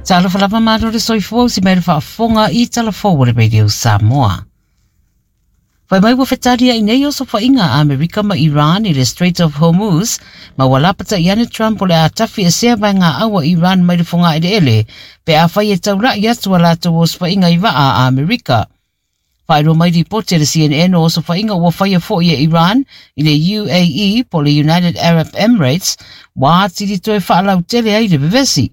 Talofa lava malo le soifua usi mai le faafofoga i tala fou a le Radio Samoa. Fai mai ua fetaliai nei osofaiga a Amerika ma Iran i le Strait of Hormuz, ma ua lapata'i ane Trump o le a tafiesea vaegaau a Iran mai le fogaeleele pe afai e taula'i atu a latou osofaiga i vaa a Amerika. Faailoa mai lipoti a le CNN o osofaiga ua faia foi e Iran i le UAE po o le United Arab Emirates ua atili toe faalautele ai le vevesi.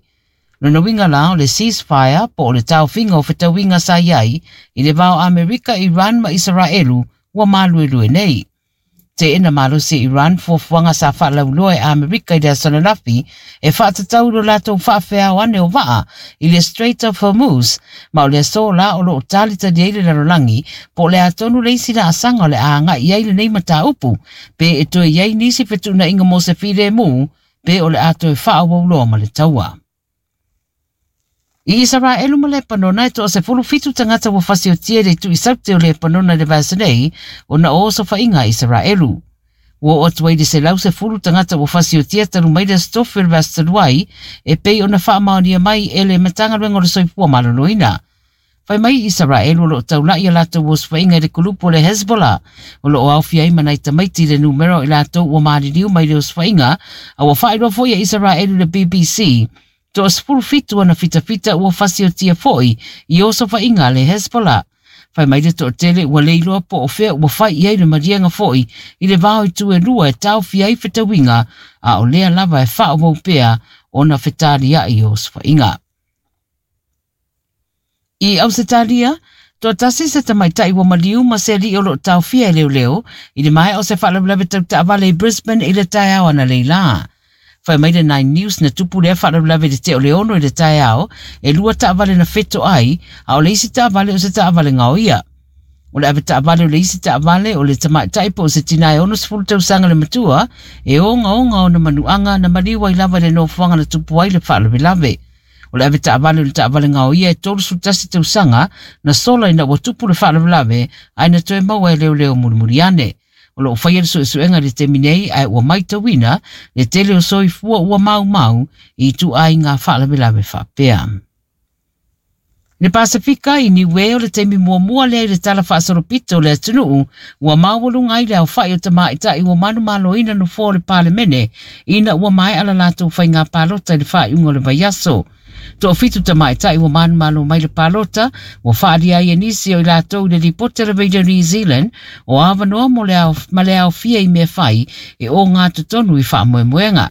Lona uiga la o le ceasefire po o le taofiga o fetauiga sa i ai i le va o Amerika, Iran ma Isaraelu ua maluelue nei. Teena malosi e Iran fuafuaga sa faalauiloa e Amerika i le aso ananafi e faatatau i lo latou faafeao ane o vaa i le Strait of Hormuz, ma o le aso la o lo o talitali ai le lalolagi po o le a tonu le isi laasaga o le a agai i ai lenei mataupu, pe e toe i ai nisi fetuunaiga mo se filemu, pe o le a toe faaauau loa ma le taua. I Isaraelu ma Lepanona e 17 tagata ua fasiotia i le itu i Saute o Lepanona i le vaiaso nei ona o osofaiga a Isaraelu. Ua oo atu ai i le 110 tagata ua fasiotia talu mai le Aso Tofi o le vaiaso talu ai e pei ona faamaonia mai e le Matagaluega o le Soifua Maloloina. Fai mai Isaraelu o lo o taula'i a latou osofaiga i le kulupu o le Hezbollah, o lo o aofia ai ma nai tamaiti i le numera o i latou ua maliliu mai le osofaiga, a ua faailoa foi e Isaraelu i le BBC, toa 17 ana fitafita ua fasiotia foi i osofaiga a le Hezbollah. Fai mai le toatele ua le iloa po o fea ua fai i ai le maliega foi i le va o itu e lua e taofia ai fetauiga, a o lea lava e faaauau pea ona fetaliai osofaiga. I Ausetalia, toatasi se tamaitai ua maliu ma se alii o lo o taofia e leoleo i le maea o se faalavelave tau taavale i Brisbane i le taeao analeila. Fai mai le Nine News na tupu lea faalavelave i le tea o le 6 i le taeao, e lua taavale na fetoai, a o le isi taavale o se taavale gaoia. O le avetaavale o le isi taavale o le tamaitai po o se tina e 60 tausaga le matua, e ogaoga ona manuaga na maliu ai lava i le nofoaga na tupu ai le faalavelave. O le avetaavale o le taavale gaoia e 31 tausaga na sola ina ua tupu le faalavelave ae na toe maua e leoleo mulimuli ane. O lo o faia le suesuega i le taimi nei ae ua maitauina le tele o soifua ua maumau i ituaiga faalavelave faapea. I le Pasefika, i Niue, o le taimi muamua lea i le tala faasolopito o le atunuu ua maualuga ai le aofai o tamaitai ua manumaloina nofoa o le Palemene ina ua maea la latou faiga palota i le faaiuga o le vaiaso. Toafitu tamaitai ua manumalo mai le palota ua faaalia ai e nisi o i latou i le lipoti a le Radio New Zealand o avanoa mo le ao, ma le aofia i mea fai e ogatotonu i faamoemoega.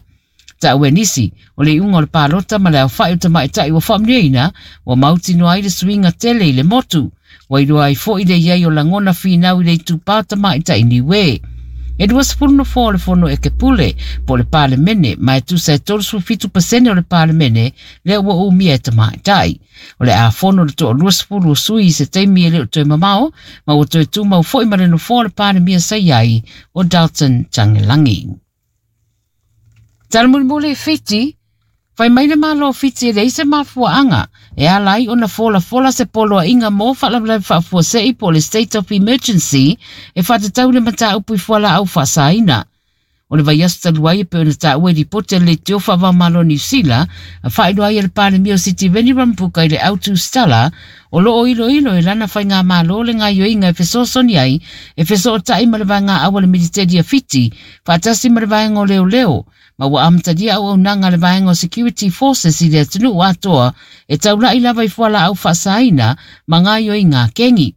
Tau e nisi, o le iuga o le palota ma le aofai o tamaitai ua faamanuiaina, ua mautinoa ai le suiga tele i le motu. Ua iloa ai foi le i ai o lagona finau i le itupa o tamaitai Niue. E 20 nofoa o le Fono Ekepule, po o le Palemene, ma e tusa e 37% o le Palemene lea ua umia e tamaitai. O le a fono le toa 20 o sui i se taimi e le o toe mamao, ma ua toe tumau foi ma le nofoa o le Palemia sa i ai o Dalton Tagelagi. Tala mulimuli i Fiti, Fai mai le Malo o Fiti e leai se mafuaaga e ala ai ona folafola se poloaiga mo faalavelave faafuasei po o le State of Emergency e faatatau i le mataupu i fualaau faasaina. O le vaiaso talu ai e pei ona taua i lipoti a le Leitio Faava-o-Malo o Niu Sila, a faailoa ai e le Palemia o Sitiveni Rambuka i le Autu Stala o lo o iloilo e lana faigamalo le gaoioiga e fesoasoani ai e fesootai ma le vaegaau a le Militeli a Fiti faatasi ma le vaega o leoleo ma ua amatalia auaunaga a le vaega o Security Forces i le atunuu atoa e taula'i lava i fualaau faasaina ma gaoioiga kengi.